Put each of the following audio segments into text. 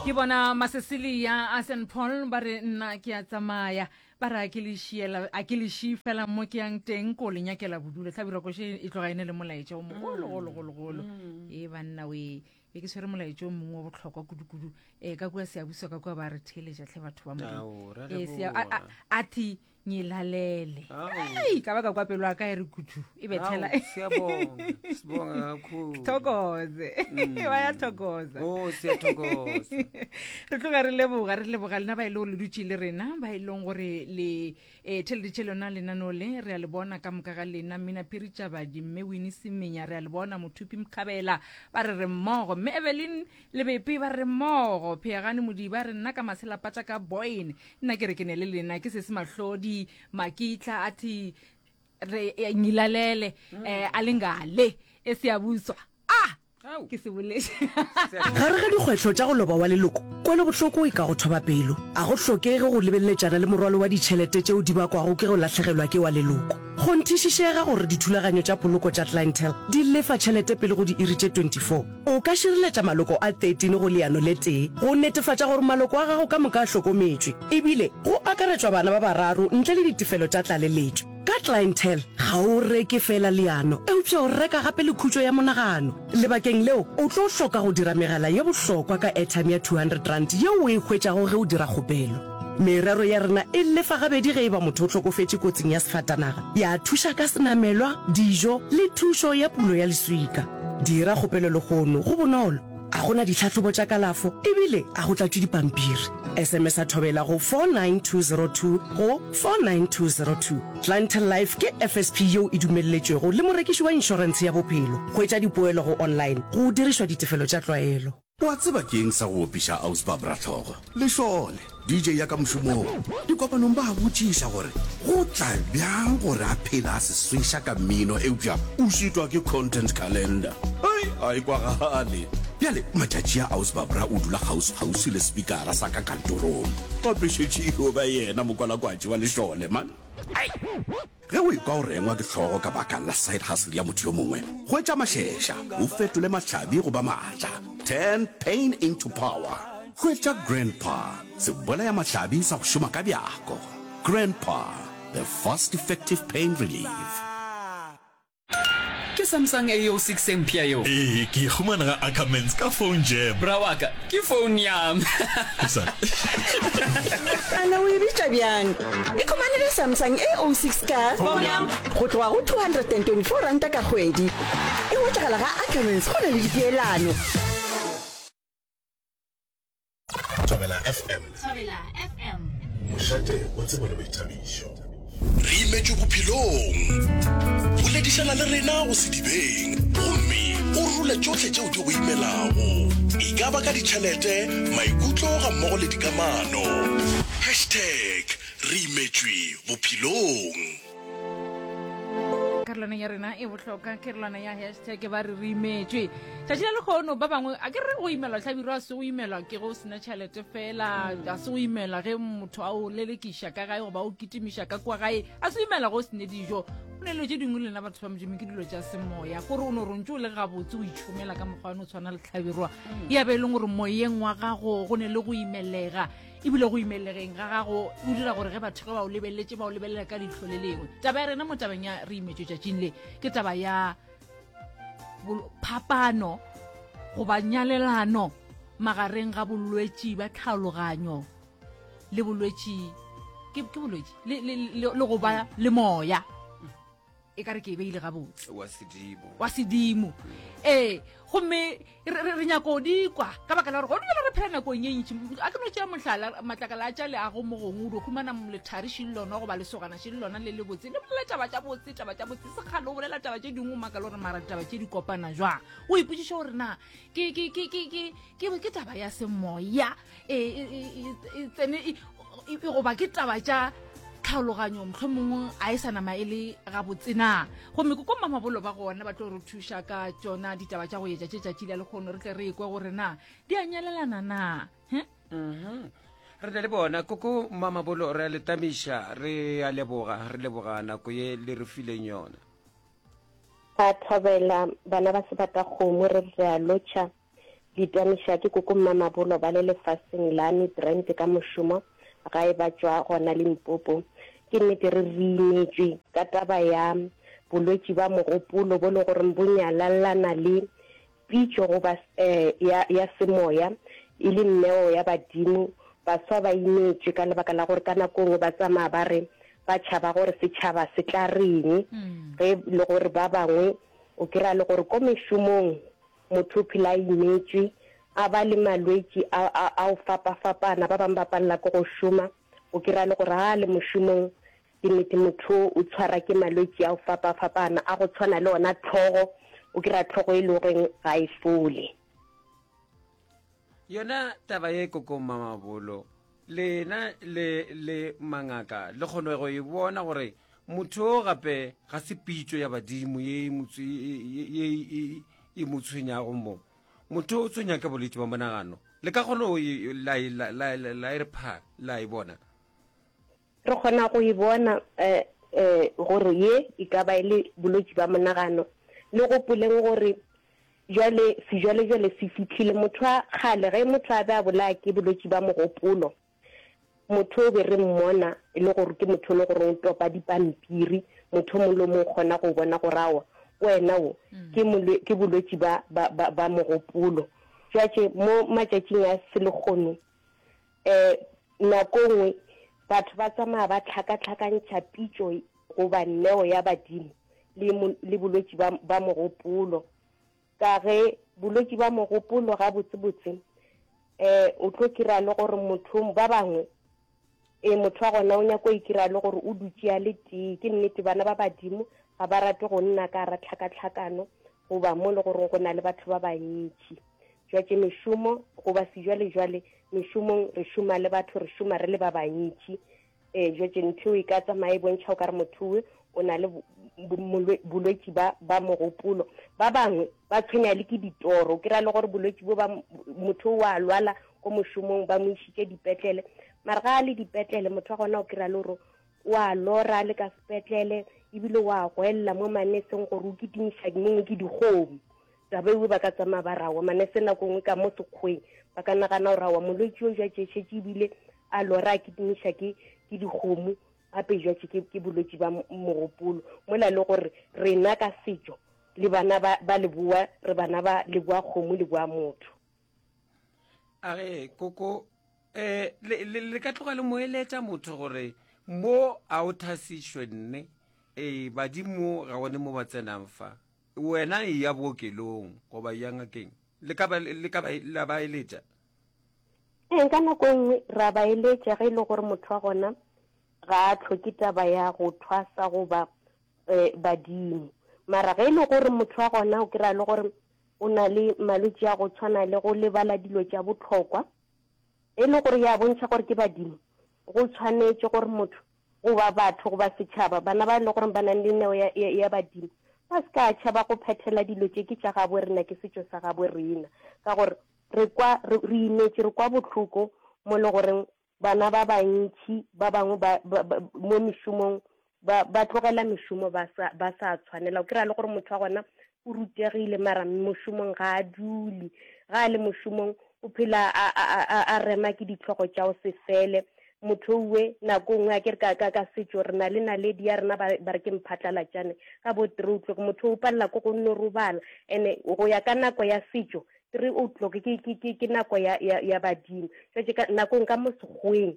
Ke bona Masesilia a St Paul ba re nna ke a tsamaya ba re a ke le šiela a ke le šii fela mo ke yang teng ko le nyakela bodulo hlabirwa koše e tloga e ne le molaetša o mogolo golo golo golo e banna we be ke tshwere molaetša o mongwe wa bohlokwa kudu-kudu um ka kua seabuso ka kua ba re theeletša tlhe batho ba Modimo Ao, ra Eh, sea- a- leboga. a- a thi ngilalele Ao. Ei, ka ba ka kwa pelo ya ka e re kudu e bethela Ao, siyabonga sibonga kakhulu thokoze ba ya thokoza oh siyathokoza re tloga re leboga re leboga lena ba e le gore le dutše le rena ba e leng gore le um theleditše lona lenaneo le re a le bona ka moka ga lena mmina phiri tšabadi mme wini semenya re a le bona mothupi mkhabela ba re re mmogo mme evelyn lebepe ba re mmogo pheagane modiba re nna ka maselapatša ka boyne nna ke re ke ne le lena ke sese mahlodi makitla a thi re eh, ngilalele um a lengale e seabuswa ah ke se boletše Gare ga dikgwetlho tša go loba wa leloko, kwelobohloko e ka go thoba pelo. A go hlokege go lebeleletšana le morwalo wa ditšhelete tšeo di bakwago ke go lahlegelwa ke wa leloko. Kgonthišišega gore dithulaganyo tša poloko tša Clientele di lefa tšhelete pele go diiri tše 24. O ka šireletša maloko a 13 go leano le tee go netefatša gore maloko a gago ka moka a hlokometšwe, ebile go akaretšwa bana ba bararo ntle le ditefelo tša tlaleletšo. Ka Clientele, ga o reke feela leano, eupša o reka gape le khutšo ya monagano. Lebakeng leo, o tlo hloka go dira megala ye bohlokwa ka airtime ya R200 yeo o e hwetšago ge o dira kgopelo. Merero ya rena e lefa gabedi ge e ba motho o hlokofetše kotsing ya sefatanaga, ya thuša ka senamelwa, dijo le thušo ya pulo ya leswika. Dira kgopelo lehono, go bonolo, a go na ditlhahlobo tša kalafo ebile a go tlatšwe dipampiri. SMS-a Thobela go 49202 go 49202. Clientele Life ke FSP yeo e dumelletšwego le morekiši wa inšorentshe ya bophelo. Hwetša dipoelo go online go dirišwa ditefelo tša tlwaelo. Wa tseba ke eng sa go opiša Aus Barbra hlogo? Lešole, DJ ya ka mošomong. Dikopanong ba a botšiša gore go tla bjang gore a phele a se sweša ka mmino eupša o šitwa ke content calendar. Hei, a e kwagale. Bjale matšatši a Aus Barbra o dula kgauswi-kgauswi le sepikara sa ka kantorong. Gape šetše e yo ba yena mokwalakwatši wa lešole, man. Hei! Ge o ekwa o rengwa ke hlogo ka baka la side hustle ya motho yo mongwe, hwetša mašeša, o fetole mahlabi go ba maatla. Turn pain into power. Hwetša Grandpa, sebolayamahlabi sa go šoma ka bjako. Grandpa, the fast effective pain relief. Ke Samsung A06 e mpsha yeo? Ee, ke e humana ga Ackermans ka phone jam. Bra wa ka, ke phone ya me. Ana o e bitša bjang? Ikhumanele Samsung A06 ka go tloga go R224 ka kgwedi. E hwetšagala ga Ackermans go na le dipeelano. Thobela FM. Thobela FM. Mošate wa tsebo le boithabišo. Re imetšwe bophelong. Boledišana le rena go sedibeng gomme o role tšohle tšeo di go imelago. E ka ba ka ditšhelete, maikutlo gammogo le dikamano. Hashtag re imetšwe bophelong. Karolwana ya rena e bohlokwa karolwana ya hashtag ba re re imetšwe tšatši la lekgono ba bangwe a ke re go imelwa hlabirwa a se go imelwa ke go sena tšhelete fela a se go imelwa ge motho a o lelekiša ka gae goba o kitimiša ka kwa gae a se go imelwa go o sene dijo o ne dilo tše dingwe lena batho ba modimo ke dilo tša semoya kore o no rontse o le gabotse o itšhomela ka mokgwa o tshwana le hlabirwa ya be e leng gore moyeng wa gago go ne le go imelega ebile go imelegeng ga gago o dira gore ge batho ge ba o lebeletse ba o lebelela ka leihlo le lengwe. Taba ya rena mo tabeng ya re imetšwe tšatšing le ke taba ya phapano goba nyalelano magareng ga bolwetši bja tlhaologanyo le bolwetši ke bolwetši le go ba le moya. E ka re ke e beile gabotse. Wa sedimo. Wa sedimo. Ee, gomme re, re, re nyako di kwa ka baka la gore gone bjale re phela nakong ye ntši. A ke no tšea mohlala, matlakala a tša leago mo gongwe o dio humana lethari še le lona goba lesogana še le lona le lebotse, le bolela taba tša botse, taba tša botse, sekgale o bolela taba tše dingwe o makale gore mara ditaba tše di kopana jwang. O ipotšiše gore na ke, ke, ke, ke, ke, ke, ke taba ya semoya e, e, e, e tsene e, e, goba ke taba tša tlhaologanyo mohlomongwe a e sa nama e le gabotse na. Gomme ko ko Mamabolo ba gona ba tlo re thuša ka tšona ditaba tša go etša tše tšatši la lekgono re tle re ekwe gore na di a nyalelana na. He? Mhm. Re na le bona koko Mamabolo, re a le tamiša, re a leboga, re leboga nako ye le re fileng yona. Ba thobela bana ba sebatakgomo re re a lotšha. Ditamiša ke koko Mmamabolo ba le lefaseng la Midrand ka mošomo gae ba tšwa gona Limpopo. Ke nnete re re imetšwe ka taba ya bolwetši ba mogopolo bo le goreng bo nyalallana le pitšo goba ya, ya semoya e le neo ya badimo. Baswa ba imetšwe ka lebaka la gore ka nako nngwe ba tsamaya ba re ba tšhaba gore setšhaba se tla reng ge le gore ba bangwe o kry-a le gore ko mešomong Motho o phela a imetšwe, a ba le malwetši a, a, a go fapafapana. Ba bangwe ba palela ke go šoma. O kry-a le gore ga a le mošomong, ke nnete motho o tshwara ke malwetši a go fapafapana, a go tshwana le ona tlhogo. O kry-a tlhogo e le goreng ga e fole. Yona taba ye koko Mamabolo, lena le le mangaka le kgone go e bona gore motho o gape ga se pitšo ya badimo ye e, e mo tshwenyago mo. Motho o tshwenya ka bolwetši ba monagano. Le ka kgona go la, la, la, la e re pha, la e bona. Re kgona go e bona um um gore ye e ka ba e le bolwetši ba monagano. Le gopoleng gore Jwale, sejwalejwale se fihlile. Motho wa kgale, ge motho a be a bolaya ke bolwetši ba mogopolo, motho o be re mmona e le gore ke motho e le gore o topa dipampiri, motho o mongwe le o mongwe o kgona go bona gore aowa, wena o ke molwe, ke bolwetši ba, ba, ba, ba mogopolo. Jwatše mo matšatšing a selehono, um nako nngwe batho ba tsamaya ba hlakahlakantšha pitšo goba neo ya badimo le, le bolwetši ba, ba mogopolo. Ka ge bolwetši ba mogopolo gabotsebotse um o tlo kry-a le gore motho ba bangwe e motho wa gona o nyako ikira le gore o dutše a le tee. Ke nnete bana ba badimo ga ba rate go nna ka gara tlhakatlhakano goba mo le goreng go na le batho ba bantši. Jwatše mešomo goba sejwalejwale mešomong re šoma le batho, re šoma re le ba bantši. Ee, jwatše ntho eo e ka tsamaya e bontšha o ka re motho owe o na le bolwetši ba, ba mogopolo. Ba bangwe ba tshwenya le ke ditoro, o kry-a le gore bolwetši bo ba motho o a lwala ko mošomong ba mo išitše dipetlele, mara ga a le dipetlele motho wa gona o kry-a le gore o a lora a le ka sepetlele ebile o a goelela mo maneseng gore o kitimiša mongwe ke dikgomo. Taba ewe ba ka tsamaya ba rawa manese nako nngwe ka mo sekgweng ba ka nagana gore awa molwetši o jwa tšešetše ebile a lora a kitimiša ke ke dikgomo gape jwa tše ke ke bolwetši ba mogopolo mola le gore rena ka setšo le bana ba ba leboa re bana ba leboa kgomo leboa motho. A re koko eh le, le, le ka tloga le mo eletša motho gore mo a o thasišwe nne ee badimo ga one mo ba tsenang fa Wena eya bookelong goba eya ngakeng. Le ka ba, le ka ba, la ba eletša? Ee, ka nako e nngwe re a ba eletša ge e le gore motho wa gona ga a hloke taba ya go thwasa goba um badimo. Mara ge e le gore motho wa gona o kry-a le gore o na le malwetši a go tshwana le go lebala dilo tša bohlokwa, e le gore ya bontšha gore ke badimo, go tshwanetše gore motho goba batho goba setšhaba, bana ba e le gore ba nang le neo ya, ya, ya badimo, ba se ka tšhaba go phethela dilo tše ke tša gabo rena, ke setšo sa gabo rena. Ka gore re kwa, re, re imetše, re kwa bohloko mo le goreng bana ba bantši ba bangwe ba, ba, ba, mo mešomong ba, ba tlogela mešomo ba sa, ba sa tshwanela. O kry-a le gore motho wa gona o rutegile mara mošomong ga a dule. Ga a le mošomong o phela a, a, a, a rema ke ditlhogo tša go se fele. Motho owe nako nngwe a ke re ka, ka, ka setšo re na le naledi ya rena ba, ba re ke mphatlalatšane ka bo three o'clock. Motho o palela ke go nno robala. And-e go ya ka nako ya setšo 3 o'clock ke, ke, ke, ke nako ya, ya, ya badimo. Jwale ka nakong ka mo sekgoweng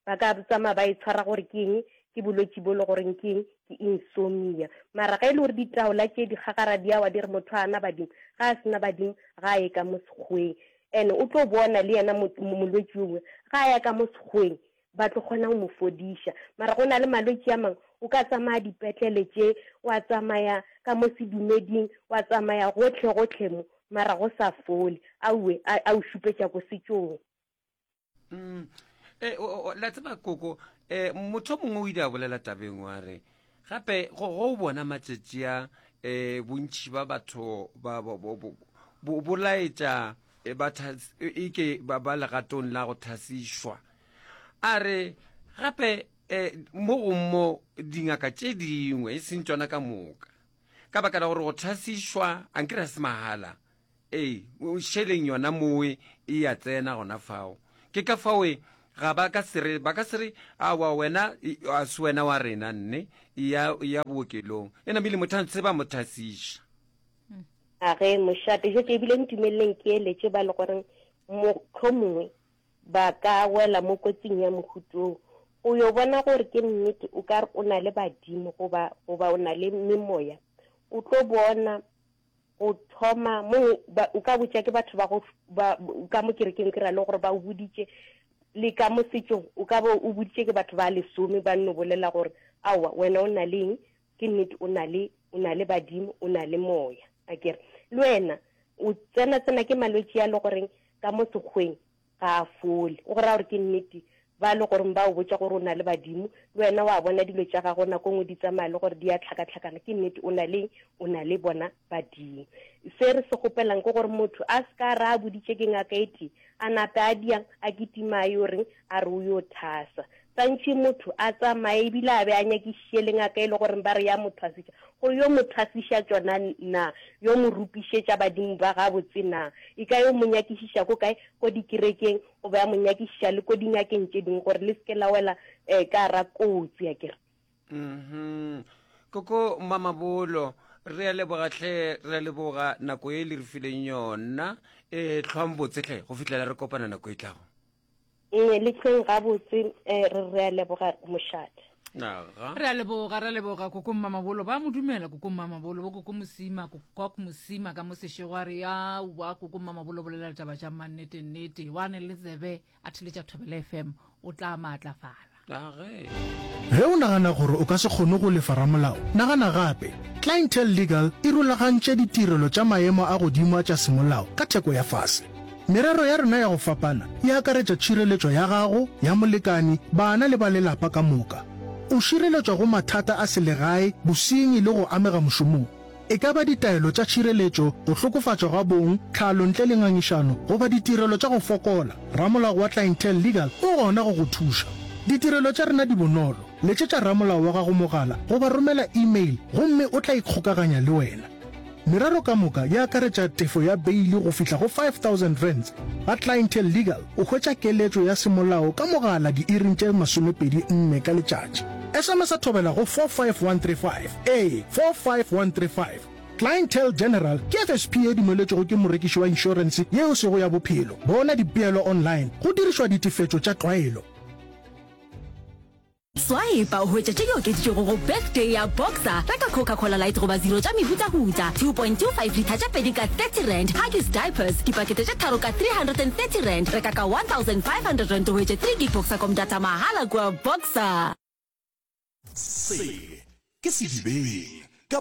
ba ka tsamaya ba e tshwara gore ke eng, ke bolwetši bo le goreng ke eng, ke insomnia. Mara ge e le gore ditaola tše di gagara di a wa di re motho a na badimo, ga a sena badimo ga a ye ka mo sekgoweng. And o tlo bona le yena molwetši yowe ga a ya ka mo sekgoweng ba tlo kgona go mo fodiša. Mara go na le malwetši a mangwe o ka tsamaya dipetlele tše, wa tsamaya ka mo sedumeding, wa tsamaya gohle gohle mo, mara go sa fole. Auwe a, a o šupetša ko setšong. Mm. E, o, o, la tseba koko e, motho mongwe o ile a bolela tabeng wa re gape go go bona matšatši a e, bontši ba batho ba bo, bo, bo, bo, bo laetša e, ba e ke ba, ba legatong la go thasišwa a re gape e, mo go mo dingaka tše dingwe e seng tšona ka moka ka baka la gore go thasišwa a nkere ga se mahala. Ee, šeleng yona mowe e ya tsena gona fao. Ke ka faoe ga ba ka se re, ba ka se re, Aowa, wena a se wena wa rena, nne, eya, eya bookelong. E namile motho a ntse ba mo thasiša. A ge, mošate, jwetše ebile ntumeleleng ke eletše ba le goreng mohlomongwe ba ka wela mo kotsing ya mohuta wo. O yo bona gore ke nnete o ka re o na le badimo goba, goba o na le memoya. O tlo bona go thoma mo ba, o ka botša ke batho ba go ba ka mo kerekeng ke ra le gore ba o boditše le ka mo setšong o ka bo o boditše ke batho ba lesome ba nno bolela gore aowa wena o na le eng ke nnete o na le o na le badimo o na le moya a kere le wena o tsena tsena ke malwetši a le goreng ka mo sekgweng ga a fole. O go raya gore ke nnete ba le goreng ba o botša gore o na le badimo, le wena wa bona dilo tša gago nako nngwe di tsamaya le gore di a tlhakatlhakana, ke nnete o na le o na le bona badimo. Se re se kgopelang ke gore motho a se ka ra a boditše ke ngaka e tee, a nape a diang a kitima a yo reng a re o yo thasa. Santši motho a tsamaye ebile a be a nyakišiše le ngaka e le goreng ba re ya mo thwasiša, go yo mo thwasiša tšona na, yo mo rupišetša badimo ba gabotse na? E ka yo mo nyakišiša ko kae? Ko dikerekeng, goba ya mo nyakišiša le ko dingakeng tše dingwe gore le se ke la wela um ka gara kotsi, akere. Mhm. Koko Mamabolo, re a leboga hle, re a leboga nako ye le re fileng yona. E hlwang botse hle go fihlela re kopana nako e tlago. Nne le hlweng gabotse, eh, re re a leboga mošate. Aga. Re a leboga, re a leboga koko Mmamabolo. Ba mo dumela koko Mmamabolo, bo koko Mosima, koko Mosima ka mo sešego a re ya wa koko Mmamabolo bolela ditaba tša mannete nnete. Wa ne le tsebe a theletša Thobela FM o tla maatlafala. Age. Ge o nagana gore o ka se kgone go lefa ramolao, nagana gape. Clientele Legal e rulagantše ditirelo tša maemo a godimo a tša semolao ka theko ya fase. Merero ya rena ya go fapana e akaretša tšhireletšo ya gago, ya molekani, bana le ba lelapa ka moka. O šireletšwa go mathata a selegae, bosenyi le go amega mošomong. E ka ba ditaelo tša tšhireletšo, go hlokofatšwa ga bong, tlhalo ntle le ngangišano, goba ditirelo tša go fokola, ramolao wa Clientele Legal o gona go go thuša. Ditirelo tša rena di bonolo, letšetša ramolao wa gago mogala goba romela e-mail gomme o tla ikgokaganya le wena. Merero ka moka e akaretša tefo ya beili go fihla go R5000. Ga Clientele Legal o hwetša keletšo ya semolao ka mogala diiring tše 24 ka letšatši. SMS-a thobela go 45135. Ee, 45135. Clientele General ke FSP ye dumeletšwego ke morekiši wa inšorense ye e sego ya bophelo. Bona dipeelo online go dirišwa ditefetšo tša tlwaelo. Swipe o hwetše tše di okeditšwego go Birthday ya Boxer. Reka Coca-Cola Light goba Zero tša mehutahuta, 2.25 litha tše pedi ka R30, Huggies Diapers, dipakete tše tharo ka R330. Reka ka R1500 o hwetše 3 gig Boxercom data mahala kua Boxer. Se ke sedibeng.